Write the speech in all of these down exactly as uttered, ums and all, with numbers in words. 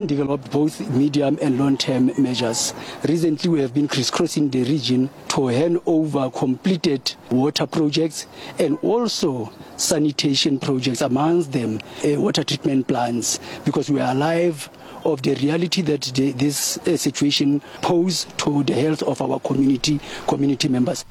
Developed both medium and long-term measures. Recently, we have been crisscrossing the region to hand over completed water projects and also sanitation projects, amongst them uh, water treatment plants, because we are alive of the reality that the, this uh, situation poses to the health of our community, community members.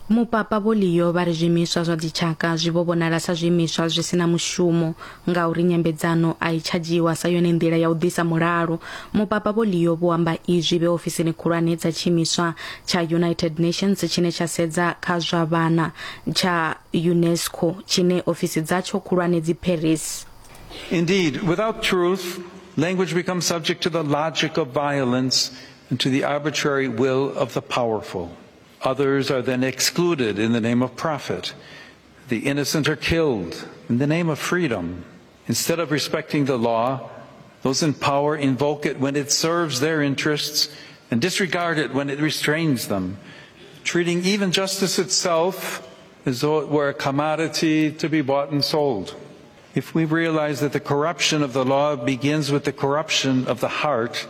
Mupapa Vho Leo vha ri zwiimiswa zwa dzitshaka zwi vho vhonala sa zwiimiswa zwi si na mushumo ngauri nyambedzano a i tsha dzhiiwa sa yone nḓila ya u ḓisa mulalo. Mupapa Vho Leo vho amba izwi vhe ofisini khulwane dza tshiimiswa tsha United Nations tshine tsha sedza kha zwa vhana tsha UNESCO tshine ofisi dzatsho khulwane dzi Paris. Indeed, without truth, language becomes subject to the logic of violence and to the arbitrary will of the powerful. Others are then excluded in the name of profit. The innocent are killed in the name of freedom. Instead of respecting the law, those in power invoke it when it serves their interests and disregard it when it restrains them, treating even justice itself as though it were a commodity to be bought and sold. If we realize that the corruption of the law begins with the corruption of the heart,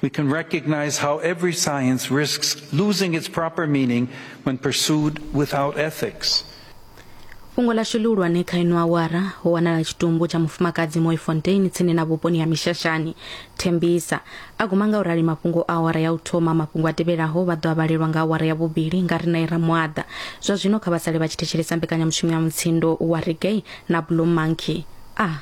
we can recognize how every science risks losing its proper meaning when pursued without ethics. Fhungo ḽashu ḽihulwane kha ino awara ho wanala tshitumbu tsha mufumakadzi Mooifontein tsini na vhuponi ha Mishashani Tembisa. A guma nga u rali mafhungo a awara ya u thoma. Mafhungo a tevhelaho vha ḓo a vhalelwa nga awara ya vhuvhili nga riṋe Ramuaḓa. Zwa zwino kha vha sale vha tshi thetshelesa mbekanyamushumo ya Mutsindo wa Reggae na Blue Monkey. A